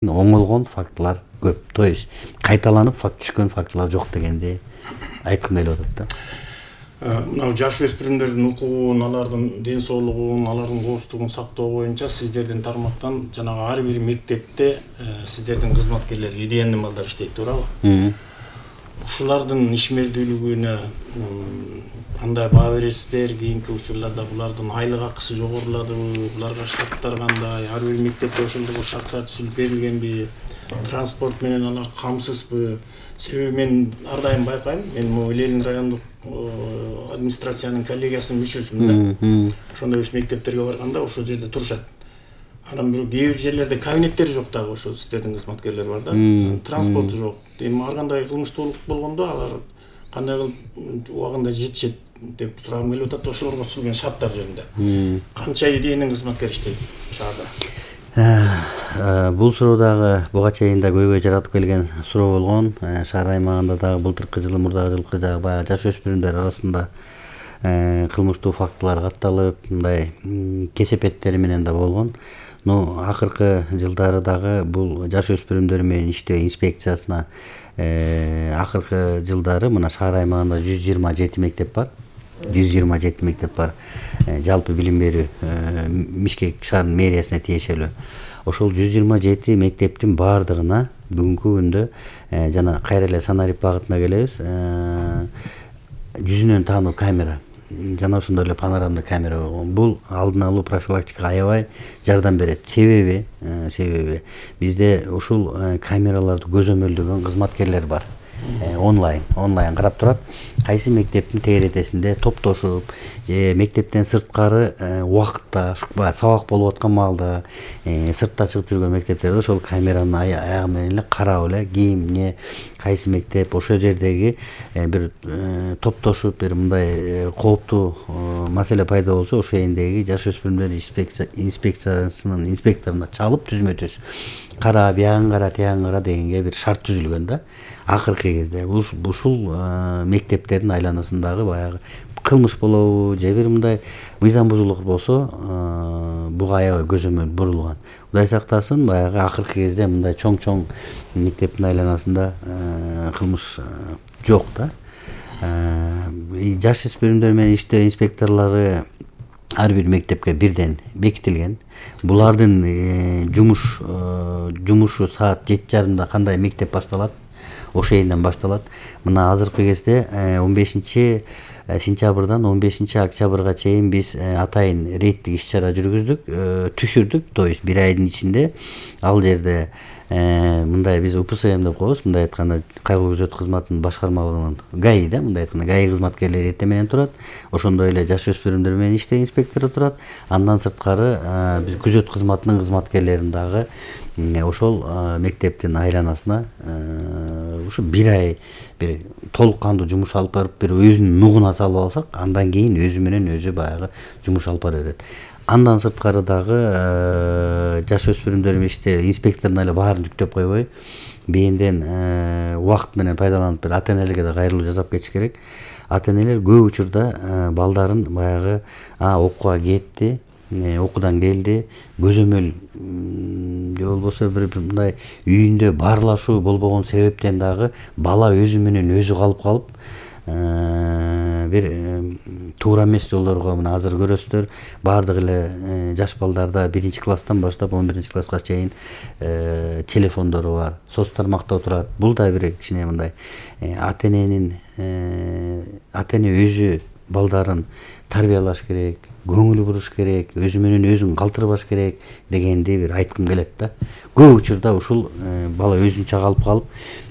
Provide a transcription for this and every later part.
оңолгон фактылар көп. То есть кайталанып факт түшкөн фактылар жок дегенди айткым келип атат да. Мына жаш өспүрүмдөрдүн укугун, алардын ден соолугун, алардын коопсуздугун сактоо боюнча сиздердин тармактан жанагы ар бир мектепте сиздердин кызматкерлер идеянын балдар иштейт, туурабы? Ушулардын ишмердүүлүгүнө кандай баа бересиздер? Кийинки учурларда булардын айлык акысы жогоруладыбы? Буларга шарттар кандай? Ар бир мектепте ошондой шарттар түзүлүп берилгенби? Транспорт менен алар камсызбы? Себеби мен ар дайым байкайм. Мен могу Ленин райондук администрациянын коллегиясынын мүчөсүмүн да. Ошондой мектептерге барганда ошол жерде турушат. Анан бирок кээ бир жерлерде кабинеттери жок дагы, ошо сиздердин кызматкерлер бар да. Транспорту жок. Эми ар кандай кылмыштуулук болгондо алар кандай кылып убагында жетишет деп сурагым келип атат. Ошолорго түзүлгөн шарттар жөнүндө. Канча идеянын кызматкери иштейт шаарда? Бул суроо дагы буга чейин да көйгөй жаратып келген суроо болгон. Шаар аймагында дагы былтыркы жылы, мурдагы жылкы баягы жаш өспүрүмдөр арасында кылмыштуу фактылар катталып, мындай кесепеттери менен да болгон. Но акыркы жылдары дагы бул жаш өспүрүмдөр менен иштөө инспекциясына акыркы жылдары мына шаар аймагында 127 мектеп бар. 127 мектеп бар. Жалпы билим берүү Бишкек шаарынын мэриясына тиешелүү. Ошол 127 мектептин баардыгына бүгүнкү күндө жана кайра эле Санарип багытына келебиз. Жүзүнөн таануу камера жана ошондой эле панорамдык камера болгон. Бул алдын алуу профилактикага аябай жардам берет. Себеби бизде ушул камераларды көзөмөлдөгөн кызматкерлер бар. Онлайн карап турат. Кайсы мектептин тегеретесинде топтошуп, мектептен сырткары убакытта, сабак болуп аткан маалда сыртта чыгып жүргөн мектептерде ошол камеранын аягы менен эле карап эле ким, эмне, кайсы мектеп, ошол жердеги бир топтошуп бир мындай кооптуу маселе пайда болсо, ошол жердеги жаш өспүрүмдөр инспекциясынын инспекторуна чалып түзмө-түз кара, биягын кара, тиягын кара дегенге бир шарт түзүлгөн да. Акыркы кезде ушул мектептердин айланасындагы баягы кылмыш болобу же бир мындай мыйзам бузуулук болсо буга аябай көзөмөл бурулган. Кудай сактасын, баягы акыркы кезде мындай чоң мектептин айланасында кылмыш жок да. Жаш өспүрүмдөр менен иштөө инспекторлору ар бир мектепке бирден бекитилген. Булардын жумушу саат 7:30 кандай мектеп башталат, ошол жерден башталат. Мына азыркы кезде 15 сентябрдан 15 октябрга чейин биз атайын рейдтик иш-чара жүргүздүк, түшүрдүк. То есть бир айдын ичинде ал жерде мындай биз УПСМ деп коебуз, мындай айтканда кайгылуу күзөт кызматынын башкармалыгынын ГАИ да, мындай айтканда ГАИ кызматкерлери эртең менен турат. Ошондой эле жаш өспүрүмдөр менен иштөө инспектору турат. Андан сырткары биз күзөт кызматынын кызматкерлерин дагы ошол мектептин айланасына ушу бир ай бир толук кандуу жумуш алып барып, бир өзүнүн нугуна салып алсак, андан кийин өзү менен өзү баягы жумуш алып бара берет. Андан сырткары дагы жаш өспүрүмдөр менен иштөө инспектордун эле баарын жүктөп койбой, бээнден убакыт менен пайдаланып бир ата-энелерге да кайрылуу жасап кетиш керек. Ата-энелер көп учурда балдарын баягы окууга кетти, окуудан келди, көзөмөл же болбосо бир мындай үйүндө баарлашуу болбогон себептен дагы бала өзү менен өзү калып бир туура эмес жолдорго, мына азыр көрөсүздөр, баардык эле жаш балдарда 1-класстан баштап 11-класска чейин телефондору бар, соц тармакта отурат. Бул да бир кичине мындай ата-эне өзү балдарын тарбиялаш керек, көңүл буруш керек, өзү менен өзүн калтырбаш керек дегенди бир айткым келет да. Көп учурда ушул бала өзүнчө калып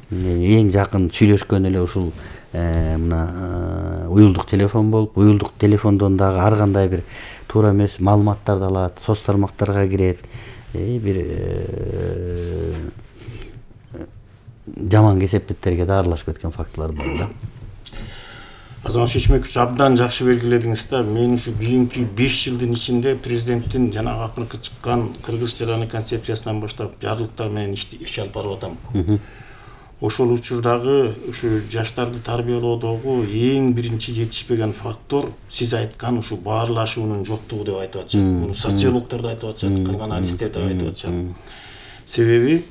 эң жакын сүйлөшкөн эле ушул мына уюлдук телефон болуп, уюлдук телефондон дагы ар кандай бир туура эмес маалыматтарды алат, соц тармактарга кирет, бир жаман кесепеттерге да аралашып кеткен фактылар бар да. Азамат Шишмекович, абдан жакшы белгиледиңиз да. Мен ушу кийинки 5 жылдын ичинде президенттин жанагы акыркы чыккан Кыргыз жараны концепциясынан баштап жарлыктар менен иш алып барып атам. Ошол учурдагы ушу жаштарды тарбиялоодогу эң биринчи жетишпеген фактор сиз айткан ушу баарлашуунун жоктугу деп айтып атышат. Муну социологдор да айтып атышат, кыргыз адистер да айтып атышат. Себеби